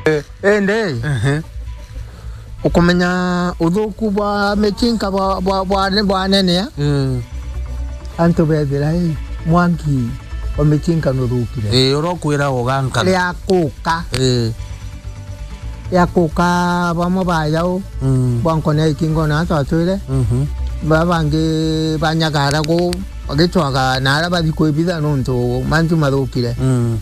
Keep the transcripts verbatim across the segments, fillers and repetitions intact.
Indi, ehe, ukumenya uthuku bwa micinka bwa, bwa, bwa, bwanenea. Mm. Antu bethira, ii, mwanki wa micinka nuthukire. Ii, urokwira uganka. Ria kuka. Ii. Ria kuka bamwe ba jau, mm, bwa nkone ya ikingo na twatwire. Mhm. Ba bangi banyagara ku, bagicwaga na ara bathi kwibitha nuntu mantu mathukire. Mm.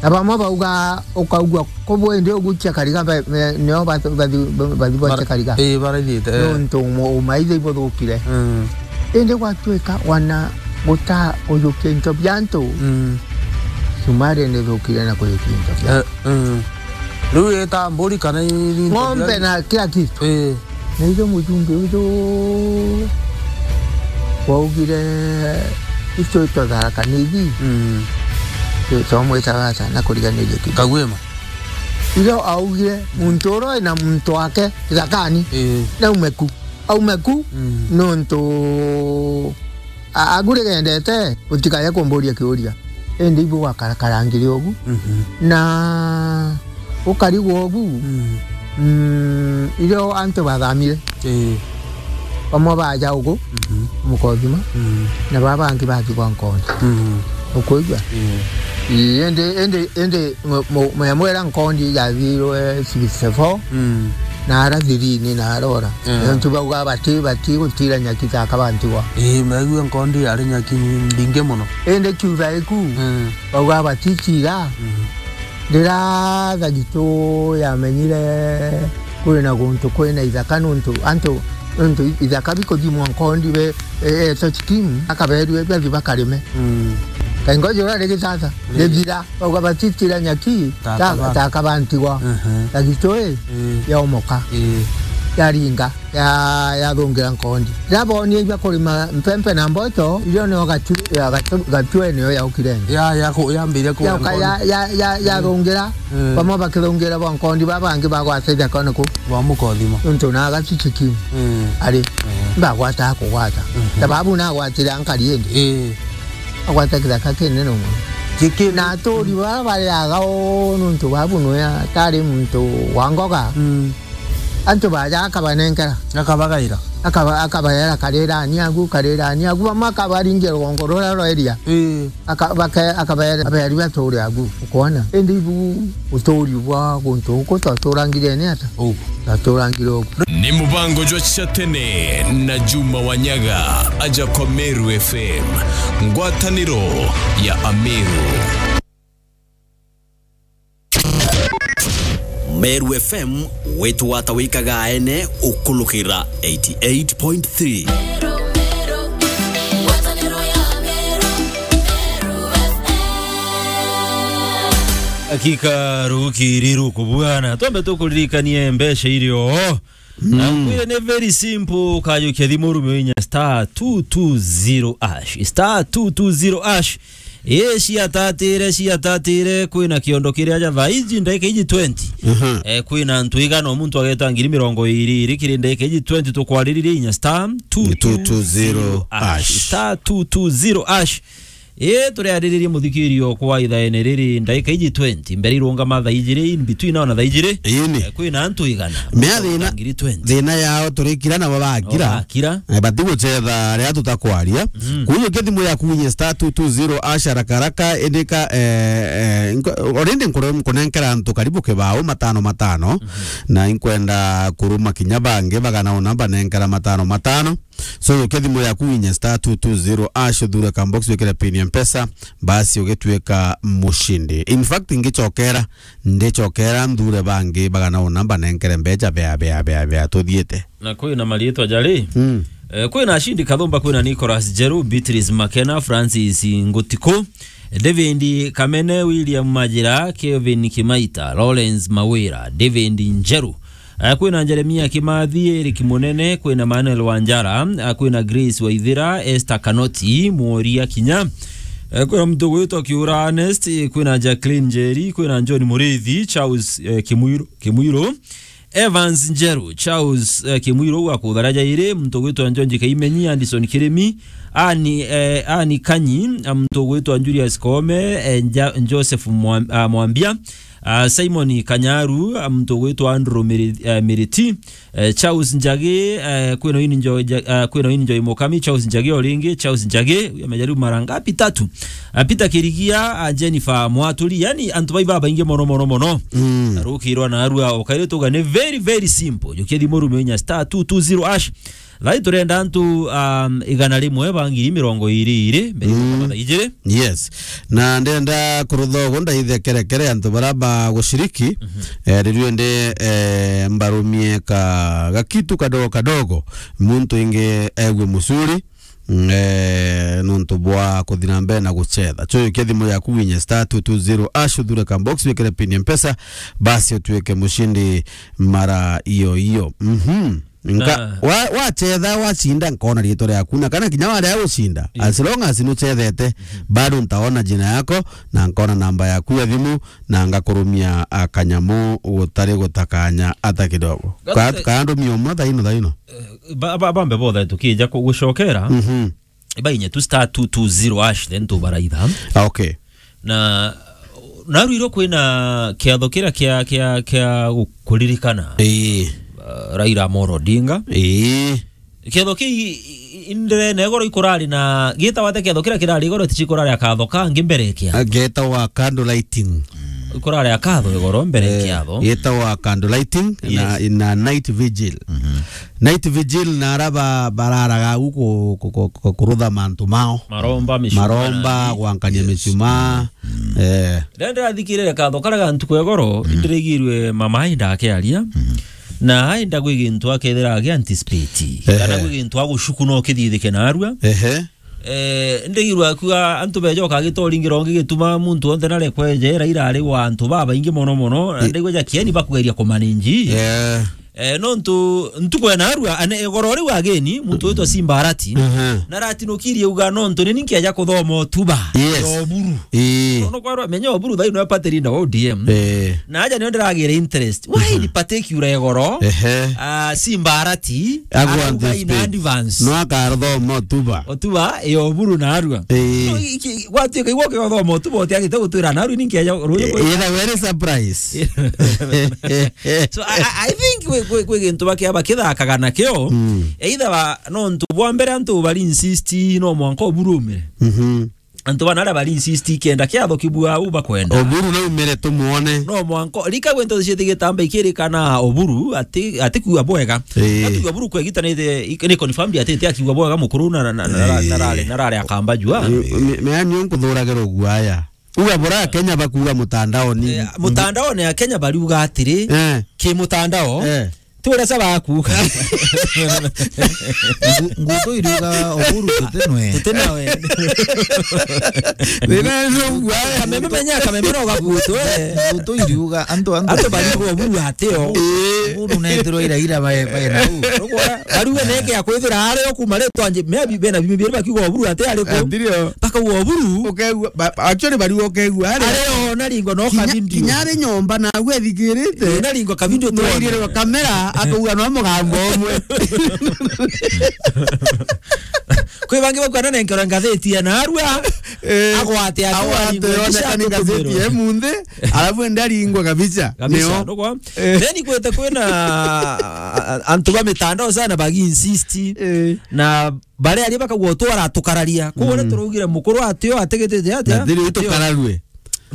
Na bamwe bauga, ukaigua kubu indi ugucia kariga, ba-, me-, nio ba-, bathi, bathi gwacia kariga. Ii, barathiite, eh. Nuntu umo-, umaitha ibuthukire. Mm. Indi gwatuika wana guta kujukia into bia antu, mm, cumari nithukire na kujukia into bia. Eh, mm. Riu ita mburi kana i-, into bia ng'ombe na kila kitu. Ii. Na itho mujumbe uju waugire, itwe twathara kanithi. Mm. Twamwitaga ata na kuriganiria kinya. Kagwima. Itho augire, muntu uria ena muntu wake kithakani, ii, naume ku. Aume ku, mm, nontu a-, agurigendete, utikaye kumburia kiuria. Indi ibu gwakarakara ngiri ubu. Mhm. Na ukarigwa ubu, mm, mm, irio antu bathamire, ii, bamwe baja ugu, mhm, Mukothima, mm, na baba bangi bathigwa Nkondi. Mm. Ukuigua? Ii. Ii, indi, indi, indi mu-, mu-, muyamwira Nkondi yathirwe sixty-four, mm, na ara thirini na arora. Mm. Nontu bauga bati, bati gutira nyaki ta kabantigwa. Ii, maigue Nkondi yari nyaki mbingi muno. Indi kiutha iku, mm, bauga batitira. Mm. Ndira thagito yamenyire kwina guntu kwina ithaka nuntu antu, nuntu ithaka bikuthimwa Nkondi be, e, e, to chikimu, akaberue bathi bakarime. Mm. Kaingo jura ri gitata, ri, githira, bauga batitira nyaki, ta, ta, kaba-, ta kabantigwa. Mhm. Thagito ii, ii, yaomoka. Ii. Yaringa. Ya, yathungira Nkondi. Riria bonie ibia kurima mpempe na mboco, irio nio gatu-, ya gatu-, gatue nio yaukire nthi. Ya, ya ku-, yambiria kuria Yauka, Nkondi. Ya, ya, ya, mm, yathungira, mm, bamwe bakithungira bwa Nkondi, baba bangi bagwata ithakone ku. Bwa Mukothima. Nontu na gatuti kiu. Mm. Ari, mm, ndagwata kugwata. Mhm. Sababu nagwatire ankari indi. Ii. Agwata kithaka kinene mono. Kiki- Na aturi baba bariaga o nontu babu nwe atari muntu wa ngoga. Mm. Antu baja akabanenkera. Akabagaira. Akaba-, akabaera, "Karirani agu, karirani agu." Bamwe akabaringia rugongo ruria rwa iria. Ii. Aka-, bake-, akabaera, "Aberi baturi agu." Ukwona? Indi ibu uturi bwa guntu guku twaturangire ni ata? Ugu. Twaturangire ugu. Ni mubango jwa cia tene na Juma Wanyaga, aja kwa Meru F M, ngwataniro ya Ameru. Meru F M, wetu wata wikaga ene ukulukira eighty eight point three. Hakika rukiri rukubwana. Twambe tukuririkanie mbeca irio. Na, mm, nkwire ni very simple, ukajukia thimu urume inya star two two zero hash. Star two two zero hash. Ii, ciatatire, ciatatire, kwina kiondo kiria ja thaa iji, ndagika iji twenty. Mhm. Eh, kwina antu igana, o muntu ageta ngiri mirongo iri iri kiri ndagika iji twenty, tukwariririe inya star two two zero hash. Star two two zero hash. Ii, turiariririe muthikirio kwa ithaene riri, ndagika iji twenty, mbere irungama thaa ijiri, in between now na thaa ijiri. Ini. Eh, kwina antu igana. Mea thina, ngiri twenty. Thina yao turikira nabo bakira. Nabo bakira. Eh, batigucetha riria tutakwaria. Mm. Kujukia thimu yaku winye star two two zero hash haraka haraka, indika, eh, eh, nko-, already nkure-, nkunenkera antu karibu kibao matano matano. Mhm. Na inkwenda kuruma kinya bangi bagana una banenkera matano matano. So, jukia thimu yaku winye star two two zero hash, uthure ka box, wikire pin ya Mpesa, basi ugituika mushindi. In fact, ngicokera, ndicokera nthure bangi bagana una banenkere mbeca bea, bea, bea, bea, tuthiite. Na kwina mariitwa jari? Mm. Eh, kwina Ashindi Kathumba, kwina Nicholas Jeru, Beatrice Makena, Francis Ngutiku, David Kamene, William Majira, Kevin Kimaita, Lawrence Mawira, David Njeru, eh, kwina Jeremia Kimathi, Eric Munene, kwina Manuel Wanjara, eh, kwina Grace Waithira, Esther Kanoti, Mworia Kinya, eh, kwina muntu ugwitwa Kiura Ernest, eh, kwina Jacqueline Njeri, kwina John Murithi, Charles, eh, Kimwiru, Kimwiru, Evans Njeru, Charles, eh, Kimwiru wa Kuthara Jairi, muntu ugwitwa Njonji Kaimenyi, Anderson Kirimi, Ani, eh, Ani Kanyi, ah, muntu ugwitwa Julius Koome, eh, Nja-, Joseph Mwam-, ah, Mwambia, ah, Simon Kanyaru, ah, muntu ugwitwa Andrew Miri-, eh, Miriti, eh, Charles Njagi, eh, kwina ini Njo-, Nja-, ah, kwina ini Njoi Mukami, Charles Njagi o ringi, Charles Njagi, uyu amejaribu mara ngapi? Tatu. Ah, Peter Kirigia, ah, Jennifer Mwaturi, yani antu bai babaingi mono, mono, mono. Mm. Rukirwa na arua, ukaire tuga ni very, very simple. Jukia thimu rume inya star two two zero hash. Thai turenda antu, um, igana rimwe ba ngiri mirongo iri iri, mbere mm, ya thaa ijiri. Yes. Na ndenda kurutha ugu ndaithe kerekere antu bara ba gushiriki, mhm, eh, riu ndi, eh, mbarumie ka gakitu kadogo kadogo, muntu ingi egue mucuri, mm, eh, nontu bwa kuthi na mbere na gucetha. Chukia thimu yaku winye star two two zero hash, uthure ka box, wikire pin ya Mpesa, basi utuike mushindi mara iyo iyo. Mhm. Nka-, na wa-, wachetha, wacinda, nkona riitwa riaku, na kana kinya waria gucinda, yes, as long as nuchethete, mhm, bado ntaona jina yako, na nkona namba yaku ya thimu, na ngakurumia, a, kanyamu gutari gutakanya ata kidogo. Ka-, Gate- kandumia umwe thaino, thaino. Eh, ba-, ba-, bambe bothe tukija ku-, gucokera. Mhm. Ibainye tu star two two zero hash, then tubaraitha. Ah, okay. Na, na rwiro kwina kiatho kiria kia, kia, kia gu-, kuririkana, ii, uh, Raila Amolo Odinga. Ii. Kiatho kii i-, i-, indirene igoro ikurari na gitawa te kiatho kiria kirari igoro tichi kurari akatho kangi mbere kia. Ah, getawa candle lighting. Ikurari akatho igoro mbere eh, kiatho. Getawa candle lighting na, yes, na night vigil. Mhm. Night vigil na araba bararaga u ku-, ku-, ku-, ku-, kurutha mantu mao. Maromba, mishumaa na maromba, nini? Gwankania, yes, mishumaa. Mm. Eh. Renda ndirathikirire katho karia ga ntuku ya goro, mm, ndirigirwe mama ainda akiaria. Mm. Na ainda gwi gintu akethira agi anticipate. Ehe. Kana gwi gintu agucuku no kithithike narua. Ehe. Eh, ndigirwa akiuga antu beja ukagitoringira ungi gituma muntu onthe narekweje, Raila ari wa antu babaingi mono mono, na i- ndigwa ja kieni bakugeria kumanage. Eh. Eh, nontu ntuku ya narua, ane, igoro riu ageni, muntu witwa Simba Arati, aha, naratinukirie uga nontu ni ninki aja kuthoma utuba, yes, ya Oburu. Ii. Nono kwarwa, menya Oburu thaino ya party leader wa O D M. Eh. Na aja nio ndiragira interest. Why, aha, ni particular igoro? Ehe. Ah, Simba Arati, agwa arauga in advance. No akathoma utuba. Utuba, ya Oburu narua. Ii. No, iki, gwatuika igwo ke uthoma utuba utiagite gutwira narua ninki aja ruyu. Eh, ira very surprise. So, I, I, I think kwi, kwi, kwi gintu bakia bakithakaga nakio. Mm. Either ba, nontu bwa mbere antu bari insist no mwanka Oburu umire. Mhm. Antu bana aria bari insist kenda kiatho kibua u bakwenda. Oburu no umire tumuone. No mwanka, rika gwe ntothi cithi gitamba ikirikana Oburu ati, ati kuuga bwega. Eh. Ati kuuga Oburu kwegitanite, ik-, ni confirmed ati, ati akiuga bwega mukuru na, na, na, na, eh, na rari, na rari akamba jua. Me, me, me ani nkuthuragirwo guaya. Uga bora Kenya bakuuga mutandaoni. Eh, mutandaoni ya Kenya bariuga atiri, eh, ki mutandao, eh, ti uria ca bakuuga. Ngu-, ngutu iriuga Oburu tuti nwe. Tuti nawe. Wina ndugu, eh. Kameme menya, kameme no gakutu, eh. Ngutu iriuga antu, antu. Antu bariuga Oburu atio. Eh. Oburu netirwo ira ira bae, bae na u. Bariuga neke akwithira ari o kuma ri twanje, maybe bena bimi bieri bakiuga Oburu ati ari ku. Ndirio. Bakauga Oburu. Ukegua, ba-, actually bariuga ukegua ari. Ari o na ringo no kavindio. Kinya ari nyomba na agwe thikirite. Eh, na ringo kavindio tu. Mwairire kamera, akauga no mugambo umwe. Kwi bangi bakwana nenkero ngatheti ya narua. Eh, agwate atu agwate aringo onekani ngatheti ya munthi, alafu ende aringwe kabisa. Kabisa, nio. Ndugu. Eh. Then kwete kwina, a-, a-, antu ba mitandao sana bagi insist. Eh. Na baria ari bakagua utwara tukararia. Kuria, mm, turaugire mukuru atio ategetete atia? Na thiri tukararue.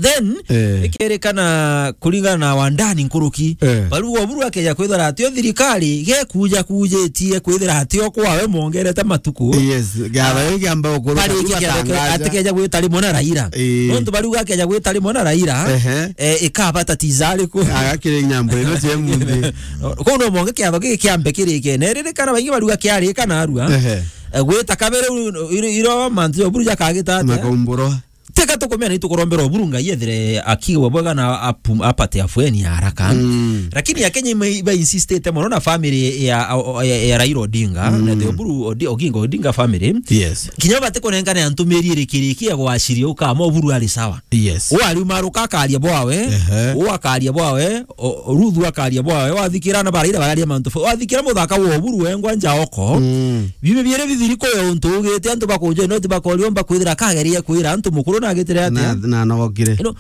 Then, eh, ikerikana kuringana na wandani nkuruki. Eh. Bariuga Oburu akeja kwithira atio thirikari gekuja kujitie kwithira atio kwawe mongerete matuku. Yes, gaba, ah, giamba ukuru bari iki kiatho kio atikeja gwita rimwe na Raila. Eh. Nontu bariuga akeja gwita rimwe na Raila, ehe, eh, ikabata tiza ariku? Agakire nyambo ino cia munthi. Kuu no monge kiatho giki kiambe kirike. Na ririkana baingi bariuga kiarika narua. Ehe. Eh, gwita kabere u-, iro, iro mantu ya Oburu jakagita atia? Makaumburo. Teka tukumea na itukurombera Oburu Ngai ethire akigwa bwega na apu-, apate afueni ya haraka. Mm. Lakini Akenya ime-, iba insistite mono na family ya, ya, ya Raila Odinga, mm, na the Oburu Odi-, Oginga Odinga family. Yes. Kinya bati kunengane antumiri irikiriki ya gwashiria ukama Oburu ari sawa. Yes. Uariuma ruka akaria bwawe, ehe, u akaria bwawe, o, o, Ruth akaria bwawe, wathikira na baraira bararia mantu fo-, wathikira muthaka wa Oburu wengwa njaoko. Mm. Bibi biere bithiri kuya untu ugite antu bakunjwa no ti bakoriomba kwithira kageria kwira antu mukuru na agitire atia? Na, na nogokire. You know,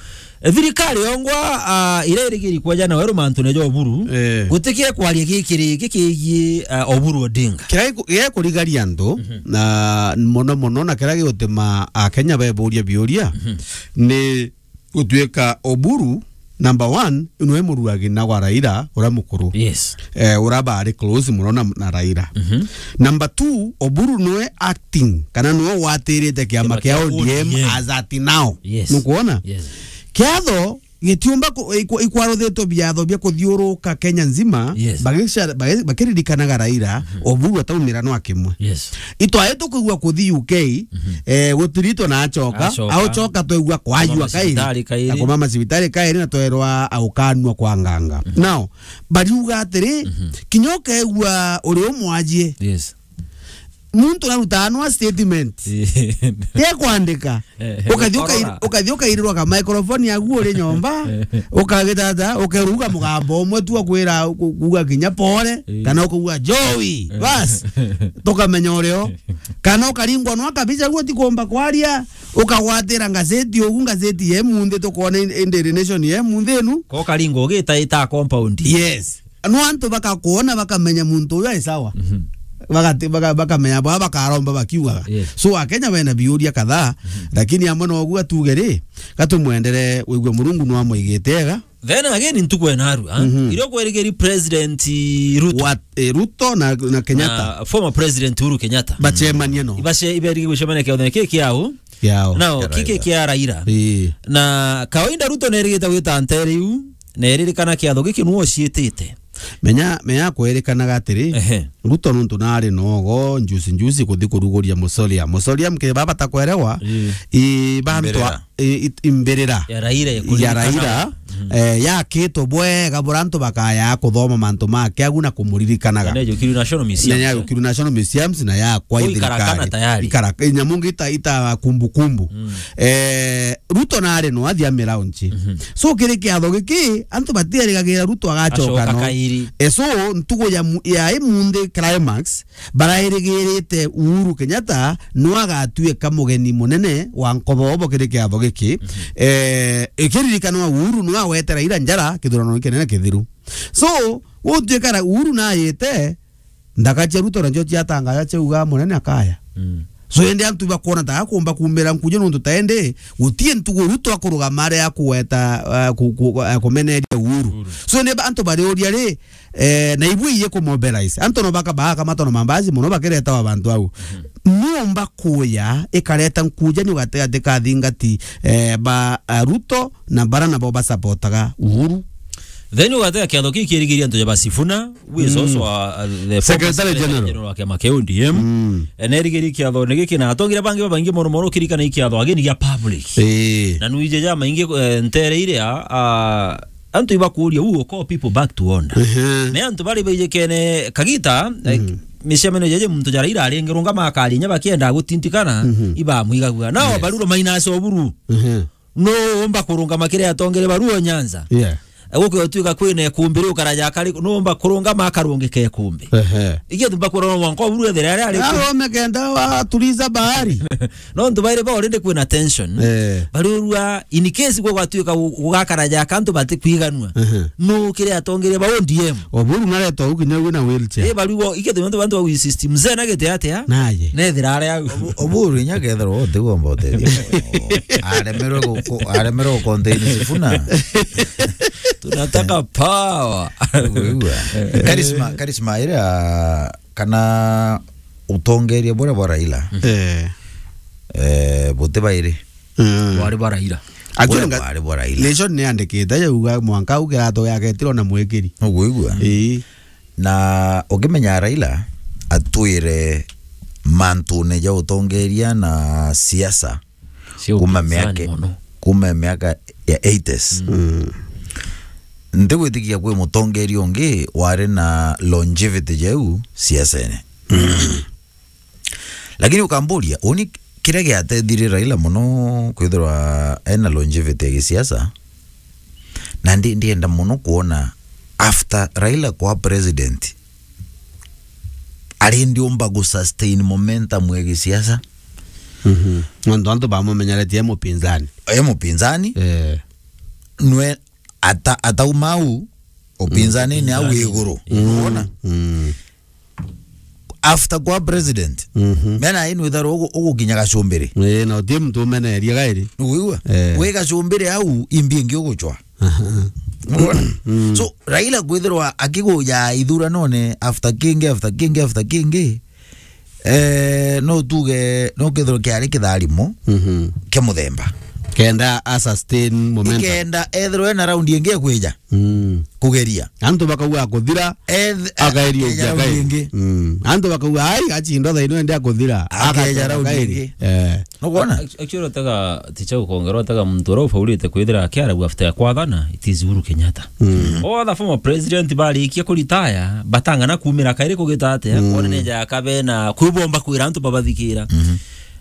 thirikari yongwa, ah, ira irigiri kwaja na weru mantu ne jo Oburu. Eh. Gutikia kwaria gikiri gikigie, ah, Oburu Odinga. Kira giku-, gikurigaria antu, mhm, na mono mono na kira gigutuma Akenya beburia biuria, mhm, ni gutuika Oburu, number one, nwe muruagi na gwa Raila, ura mukuru. Yes. Eh, ura bari close muno na, na Raila. Mhm. Number two, Oburu nwe acting, kana nwe watirite kiama kia O D M as at now. Yes. Nukwona? Yes. Kiatho gitiumba ku-, ikwa-, ikwaruthitwe biatho bia kuthiuruka Kenya nzima, yes, bagica-, bagi-, bakiririkanaga Raila, mhm, Oburu ataumira nwa kimwe. Yes. Itwae tukwigua kuthi U K, mhm, eh, gutiritwe na acoka, acoka, au coka twegua kwajua kairi, macibitari kairi, na kuma macibitari kairi na twerwa aukanua kwa nganga. Mhm. Now, bariuga atiri, mhm, kinya ukegua uri umwajie. Yes. Muntu narutanwa statement. Eh. Te kwandika. Eh, ukathi ukai-, ukathi ukairirwa ka microphone yaku uri nyomba, ukagitata, ukeruga mugambo umwe tu akwira ku-, kuuga kinya pole, eh, kana ukuuga Joey, eh, bas, tukamenya urio. Kana ukaringwa nwa kabisa guo tikumba kwaria, ukagwatira ngazeti ugu, ngazeti ye munthi tukwona in-, in Daily Nation ye munthi inu. Ko ukaringwa ugita ita compound. Yes. No antu bakakwona bakamenya muntu uyu ai sawa. Mhm. Bagati-, baka-, bakamenya baa bakaromba bakiugaga. Yes. So Akenya bena biuria kadhaa, mhm, lakini amwe noguo atuge ri, gatumwendere wigue Murungu no amwigite ega. Then again, ntuku enarua, mhm, irio kwerigeri President Ruto. Wa, eh, Ruto na, na Kenyatta. Na former President Uhuru Kenyatta. Bacemanie no. Ibace-, iberigi gucemania kiathone ki kiao. Kiao. Nao, kia kiki Raila. Kia Raila. Ii. Na kawaida Ruto nerigite gwita ntere iu, neririkana kiatho giki nuo ciitite. Menya, menya kwerikanaga atiri, ehe, Ruto nuntu nari nogo, njusi, njusi kuthi kuruguria Musolia. Musolia mke baba takwerewa, ii, i bantu a-, Imbirira. I, i, imbirira. Ya Raila, ya ya kuririkanaga. Raila, mm, eh, yakitwe bwega bura antu bakaya kuthoma mantu make agu na kumuririkanaga. Na nejukirwe National Museum. Na nejukirwe National Museums na ya kwa thirikari. Ikarakana tayari. Ikara-, nyamu ngi ita, ita kumbukumbu. Mm. Eh, Ruto nari no athi amilaunchi. Mhm. So, kiri kiatho giki, antu batiarigagira Ruto agacoka. Acoka no. Kairi. Eh, so, ntugu ya mu-, ya imunthi climax, barairigirite Uhuru Kenyatta no agatuika mugeni munene wa nkobobo kiri kiatho giki. Mhm. Eh, ikiririkanwa Uhuru no agwetera ira njara kithurano kinene kithiru. So, gutuika ra-, Uhuru nayite, nthaka cia Ruto nacio ciatangaja ciauga munene akaya. Mm. So, indi antu bakwona ta akumba kumira nkuju nuntu ta indi gutie ntugu Ruto akurugama ari akugweta, eh, ku-, ku-, eh, kumeneria Uhuru. Uhuru. So, ni ba-, antu bariuria ri, eh, na ibui iye kumobilize. Antu no baka-, bakamata na mambasi muno bakiretawa bantu au. Mhm. Niumba kuya ikareta nkuja ni gatigati ka thingati, eh, ba, eh, Ruto na bara nabo basapotaga Uhuru. Then ugatega kiatho kii kirigiria antu ja ba Sifuna, who is, mm, also a, a, the former Secretary Secretary General. General wa kiama kia O D M. Mm. E, nerigiri kiatho ni giki na atongire bangi babaingi mono mono kirikana i kiatho ageni gia public. Ii. Na nuije ja maingi, eh, ntere iria, a, antu ibakuria, who will call people back to order. Ehe. Me antu bari baijikene kagita, eh, mm, micemanio jeje muntu jara ira arengerwo ngama akaria inya bakienda gutintikana, mhm, ibamwigagua. Nao, yes, baruro mainase Oburu. Ehe. No umba kurungama kiri atongere baruo Nyanza. Yeah. Guke utuika kwina ikumbi riu karaja kari, no umba kurungama akarungika ikumbi. Ehe. Igia tumba kurora mwanka Oburu ethere ari ari ku. Arome kenda watuliza bahari. No ntu baire ba already kwina tension. Eh. Bariurua, in case gwa gwatuika gu-, gugakara ja kantu bati kwiganua. Ehe. No kiri atongere ba O D M. Oburu naretwa ukinya wina wheelchair. Eh, bariuo, igia tumba bantu ba system. Mzee na gete atia? Naye. Nethira ari au. Obu-, Oburu inya kethirwa utigomba utethio. Aremerwe gu-, ku-, aremerwe gu contain Sifuna. Tunataka power. Uguo. Charisma, charisma iria kana utongeria buria bwa Raila. Eh. Eh, buti bairi. Mm. Bwari bwa Raila. Actually, buria nga-, bwari bwa Raila. Nation ni yandikite yauga mwanka au kirato giake tiro na mwikiri. Uguo igua. Ii. Na ukimenya Raila atwire mantune ja utongeria na siasa, Cia kuma upinzani miaka, mono. Kuma miaka ya eighties. Mm. Ntigwitikia kwi mutongeria ungi wari na longevity jau siasene. Lakini ukamburia, uni kiria giatethirie Raila mono kwithirwa ena longevity ya gisiasa, na ndi-, ndienda mono kuona after Raila kwa president, ari ndiumba gu sustain momentum ya gisiasa. Mhm. Nontu antu bamumenyeretie e mupinzani. E mupinzani. Eh. Nwe ata-, atauma au, upinzani ni au iguru. Mm. Unaona? Mm. After kwa president, mhm, mena inu itharu ugu-, ugukinya Gacumbiri. Eh, na utie muntu umeneria gairi. Nuigua? Eh. Wi Gacumbiri au, imbi ingi ugucwa. Aha. Unaona? Mm. So, Raila kwithirwa akiguja ithuranone after kingi, after kingi, after kingi, eh, no tuge, no kethirwa kiari kitharimo, mhm, kia muthemba. Kenda a sustain momentum. Ikenda ethirwe na round ingi ya kwija. Mm. Kugeria. Antu bakauga akuthira, eth-, akaeria akaeja ungi, round akaeria ingi. Mm. Antu bakauga, "Ai, achindo thaino ende akuthira." Akaeja akaeja round akaeria ingi. Eh. Nukwona? Act-, actually, otega, ticha gukongera, otega muntu uria ufaurite kwithira akiaragua after ya kwathana, it is Uhuru Kenyatta. Mm. All the former president barikia kuritaya, batangana kumira kairi kugita atia, mm, kwona neja akabe na kwibomba kwira antu babathikira. Mhm.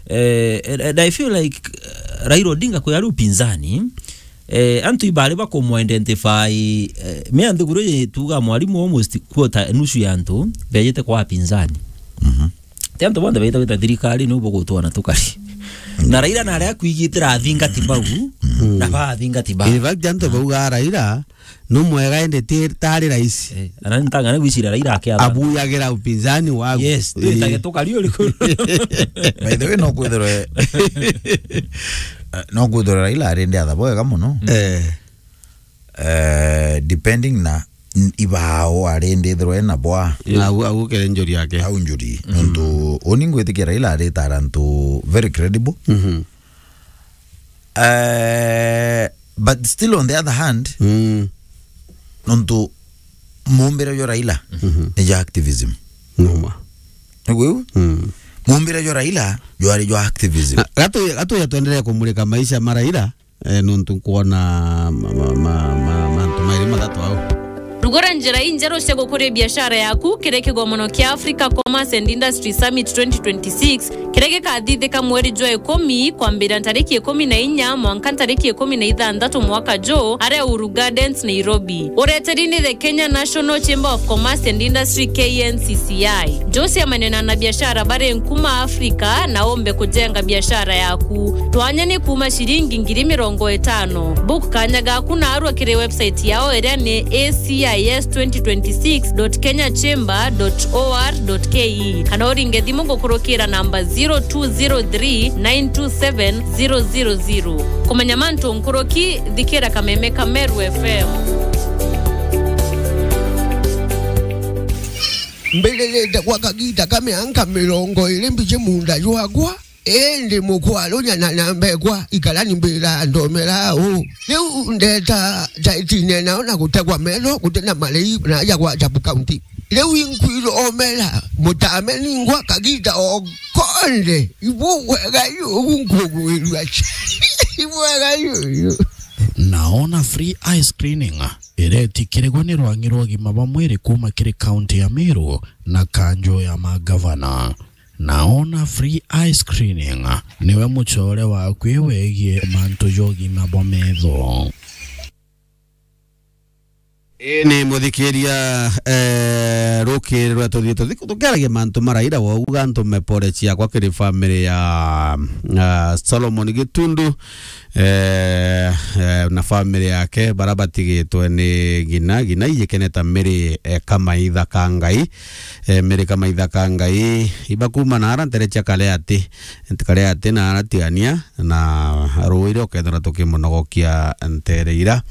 Eh, and, and I feel like, uh, Raila Odinga kwi ari upinzani, eh, antu ibari bakumu identify, eh, me anthiguru ye tuga mwarimu almost quarter, nusu ya antu bejete kwa apinzani. Mhm. Ti antu bonthe baita gwita thirikari niu bugutwana tukari. Na Raila nari akwigitira athingati bau, mm, na ba athingati ba. In fact, antu bauga Raila no mwega indi ti tari rais. Eh, ana ntangana gwicira Raila akia. Abuyagira upinzani wagu. Yes, eh, twitage tukari uriku. By the way, no kwithirwe, eh, no kwithirwe Raila ari ndi atha bwega muno. Eh. Eh, depending na n-, ibao ari ndi ithirwe na bwa. Na au, au kere njuri yake. Au njuri. Mhm. Nontu uni ngwitikia Raila ari tara antu very credible. Mhm. Eh, but still on the other hand, mm, nontu mumbire jwa Raila, mhm, ni jwa activism. Noma. Niguo? Mm. Mumbire jwa Raila jwari jwa activism. Na, gatu, gatu ya tuendelee kumulika maisha ma Raila, eh, nontu nkwona ma-, ma-, ma-, ma-, mantu mairi mathatu au. Rugura njira injeru cia gukuria biashara yaku kiri kigomono kia Africa Commerce and Industry Summit twenty twenty-six, kiria gikathithika mweri jwa ikumi, kwambiria ntariki ikumi na inya mwanka ntariki ikumi na ithanthatu mwaka juu, aria Uhuru Gardens, Nairobi. Ureteri ni the Kenya National Chamber of Commerce and Industry, K N C C I. Njuciamania na anabiashara bari nkuma Afrika na umbe kujenga biashara yaku. Twanya ni kuuma ciringi ngiri mirongo itano. Book kanya gaku naarua kiri website yao iria ni A C I S twenty twenty-six dot kenya chamber dot O R dot K E, kana uringe thimu gukurukira namba zero two zero three nine two seven zero zero zero. Kumenya mantu nkuruki, thikira kameme ka Meru F M. Mbiririite gwa kagiita ka mianka mirongo iiri mbiji muunda jwakwa, indi mukwarunya na namba ekwa ikarani mbira ndomera uu. Riu ndeeta taitine nao na gutegwa metho guti na marii na aja gwa Jabu County. Riu inkwiromera mutame ningwa kagiita o konthe. Ibugwega yugu nkugwirua. Ibwega yuyu. Naona free eye screening iretikirigwa ni rwang'i rwa ugima bwa mwiri kuuma kiri kaunti ya Meru na kanjo ya magavana. Naona free eye screening niwe mucore waku wegie mantu ja ugima bwa metho. Ii ni muthikiria, eh, rukiri rwa tuthii tuthi-, tukiaragia mantu ma Raila, wauga ntume pole ciakwa kiri family ya, ah, Solomon Gitundu, eh, eh, na family yake, bara batigitwe ni ngina, ngina ijikene ta Mary, eh, Kamaitha ka Ngai, eh, Mary Kamaitha ka Ngai, iba kuma na ara ntere cia Kaleati, ntere cia Kaleati na ara tigania, na ruuji ruria ukethirwa tukimunogokia ntere ira.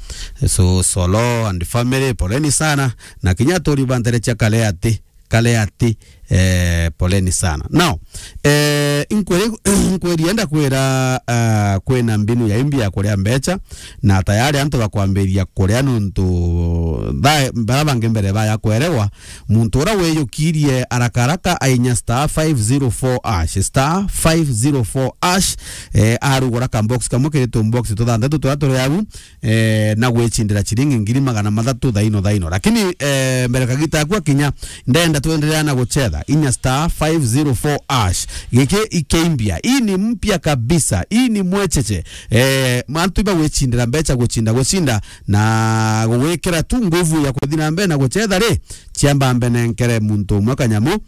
So, Solo and family, poleni sana. Na kinya aturi ba ntere cia Kaleati, Kaleati, eh, poleni sana. Now, eh, inkwiri-, inkwiri enda kwira, ah, kwina mbinu ya imbi ya kuria mbecha, na tayari antu bakwambiria kuria nontu Ba-, bara bangi mbere baya kwerewa, muntu ura wiyukirie haraka haraka ainya star five zero four hash, star five zero four hash, eh, arugura ka box kamwe kiri tu box tuthanthatu turia turi au, eh, na gwicindira ciringi ngiri magana mathatu thaino thaino. Lakini, eh, mbere kagita aku akinya, ndenda twenderea na gucetha. Inya star five zero four hash. Giki ikeimbia. Hii ni mpya kabisa. Hii ni mwecheche. Eh, mantu iba gwicindira mbecha, gucinda, gucinda, na gugwikira tu nguvu ya kuthi na mbere na gucetha ri, ciamba mbenenkere muntu umwe kanyamu,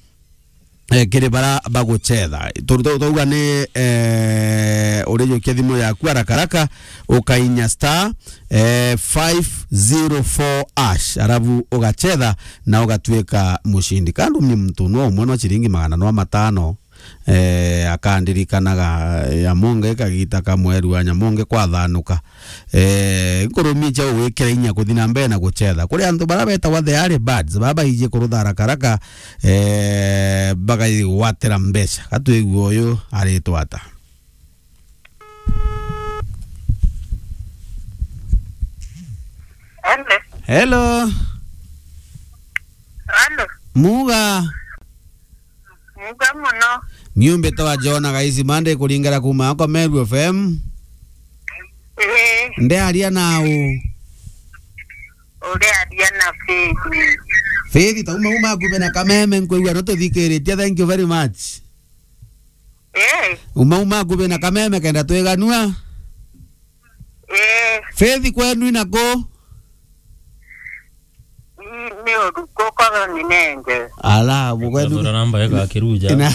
eh, kiri bara bagucetha. Tu-, tu-, twauga ni, eh, urijukia thimu yaku haraka haraka, ukainya star, eh, five zero four hash, arabu ugacetha na ugatuika mucindi. Kandu ni muntu no umwe no ciringi magana no matano, eh, akandirikanaga ya monge kagita ka mweru wa nyamonge kwathanuka. Eh, nkurumia cia gwikira inya kuthi na mbere na gucetha. Kuri antu bara betagwa the early birds, baba baiji kurutha haraka haraka, eh, bagaigwatira mbeca. Gatwigue uyu aritwa ata? Hello. Hello. Hello. Muga. Muga muno. Niumbite wa Jona Gaisi Mande kuringara kuma ako Meru F M. Ee. Ndearia nau. Urearia na Faith. Faith, tauma uma akube na kameme nkwigua no tuthikiritie. Thank you very much. Ee. Uma uma akube na kameme kenda twiganua. Ee. Faith, kwenu inaku? Ni, ni uruku korwo ni nenge. Ala, bu kwenu. Thura namba ega kiruja. Ina.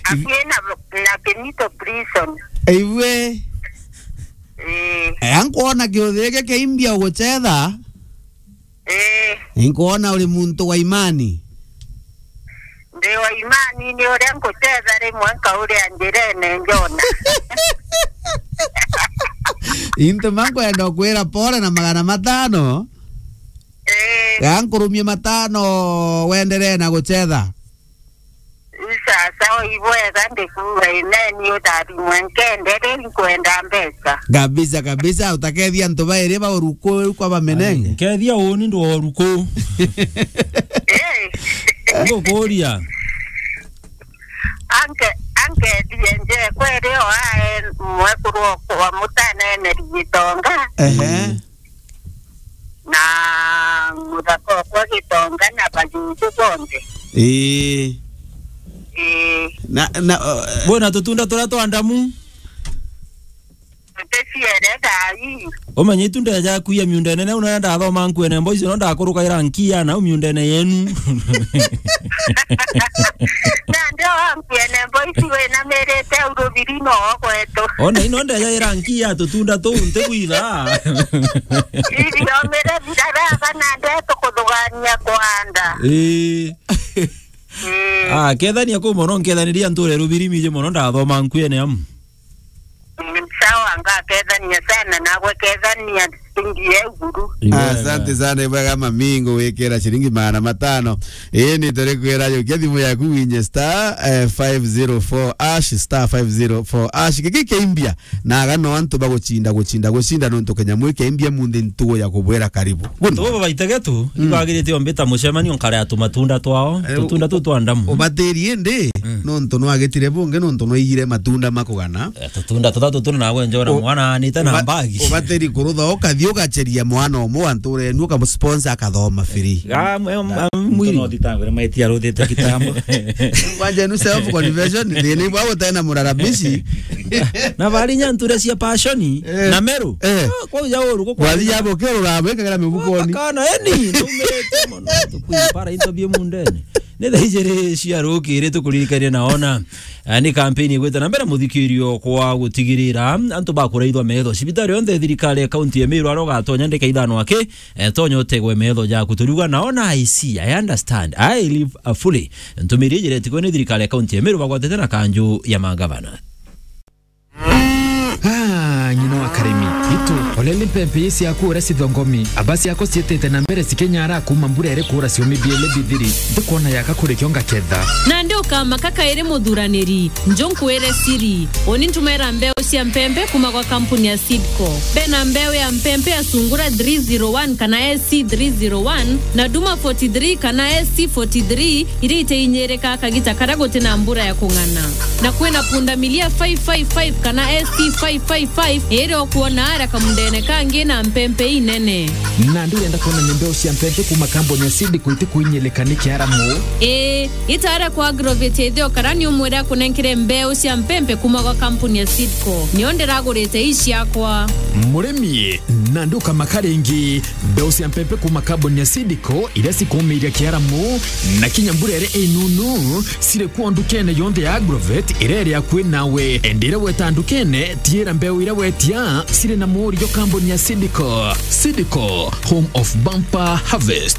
Akina na Kinito prison. Iwe. Ee. Eh, ankwona kiuthi giki kiimbia gucetha. Ee. Inkwona uri muntu wa imani. Ndi wa imani, ni uria nkucetha rimwe nkauria njirene njona. Into ma nkwenda kwira pole na magana matano. Ee. Ga nkurumie matano wenderee na gucetha. Sasa, ibwega ndikuuga imeni utharimwe nkende ri nkwenda mbeca. Kabisa, kabisa, utakethia antu bairi ba uruku kwa bamenenge. Nkethia uni ndo uruku. Eh. Ngukuria. Anke, ankethie nje kweri o ae mwekuru okwa mutanene Gitonga. Ehe. Na muthaka okwa Gitonga na bajuju bonthe. Ii. Ii. Na, na, uh, bwina tutunda turia twa ndamu? Tuticiere thaa ii. Umenye itunda jaku ya miunda inene, una ndathoma nkuene mboici, no ndakurukaira nkia nau miundene yenu. Na ndio wa nkuene mboici winamirite urubiri no gwetu. Ona ino ndeja ira nkia tutunda tuu ntigwitha. Iriomire biraraga na ndeto kuthugania kwanda. Ii. Ii. Ah, kethania kuu mono, nkethaniria nture rubiri miji mono, ndathoma nkuene amu. Mm, sawa, ngakethania sana, nagwe kethania ngie iguru. Igwe. Asante sana, ibwega mami, ngugwikira ciringi magana matano. Ii, ni turi kwira, jukia thimu yaku winye star, eh, five zero four hash, star five zero four hash. Giki kiimbia, na aga no antu bagucinda, gucinda, gucinda, nontu kinyamu kiimbia munthi ntugo ya kubwira karibu. Guno. Tubo baitegetu, mm, ibagirite ombita mucemanio nkare atu matunda twao, eh, tutunda tu twa ndamu. Ubatiri indi, mm, nontu nwagitire bungi, nontu nwaigire matunda makugana. Eh, tutunda tuthatu tuna nagwe njona o-, mwana anite na uba-, mbagi. Ubatiri kurutha ukathi ugacheria mwana umwe wa ntura yenu ukamusponsor akathoma free. Ah, mwe-, ah, mwiri. Ntu no thitangwe, maiti aruthite kitambo. Kwanja enu self confession, thina ibwa gutena murarabishi. Na bari nya nture cia passion, eh, na meru. Eh. Ah, kwa uja uru, kwa wathi yabo kero rabe kagera mibukoni. Kana eni, ndumirite mono. Tukwipara into bie mundene. Ni thaa ijiri cia rukiri tukuririkania na ona. Eh, ni kampeni igwite na mbere muthikirio kwa gutigirira antu bakuraithwa metho. Cibitari yonthe thirikari ya kaunti ya Meru aro gatonya ndeka ithano aki, eh, tonya utegwe metho jaku. Turiuga na ona I see, I understand, I live, uh, fully. Ntumiri ijiri etikwe ni thirikari ya kaunti ya Meru bagwatite na kanju ya magavana. Ah, Nyina wa Karimi. Itu, olele mpempe ii ciaku uria cithongomi, aba ciako ciitite na mbere cikenyara kuuma mbura iri kuura ciumi biele bithiri, ndikwona yaka kuri kio ngaketha. Nandi ukamaka kairi muthuraniri, njo nkwire siri. Uni ntumera mbeu cia mpempe kuuma gwa kampuni ya Seedco. Bena mbeu ya mpempe ya Sungura three zero one kana S C three zero one na Duma forty three kana S C forty three, iria iteinyirika kagita karia guti na mbura ya kung'ana. Na kwina pundamilia five five five kana S T five five five, iria ukwona aria kamundene kangi na mpempe inene. Nandi urenda kwonania mbeu cia mpempe kuuma kambuni ya Seedco itikuinyilika ni kiaramu? Ii, itaara kwa Agrovet ithio kara ni umwire akunenkere mbeu cia mpempe kuuma gwa kampuni ya Seedco. Nio ndiragurite ii ciakwa. Murimi, nandi ukamaka ringi. Mbeu cia mpempe kuuma kambuni ya Seedco iria cikuumiiria kiaramu, na kinya mbura iria inunu, ciri kuo ndukene yonthe ya Agrovet iria iri akui nawe. Endi iria weta ndukene, tiira mbeu iria wetia ciri na muurio kambuni ya Seedco. Seedco, home of bumper harvest.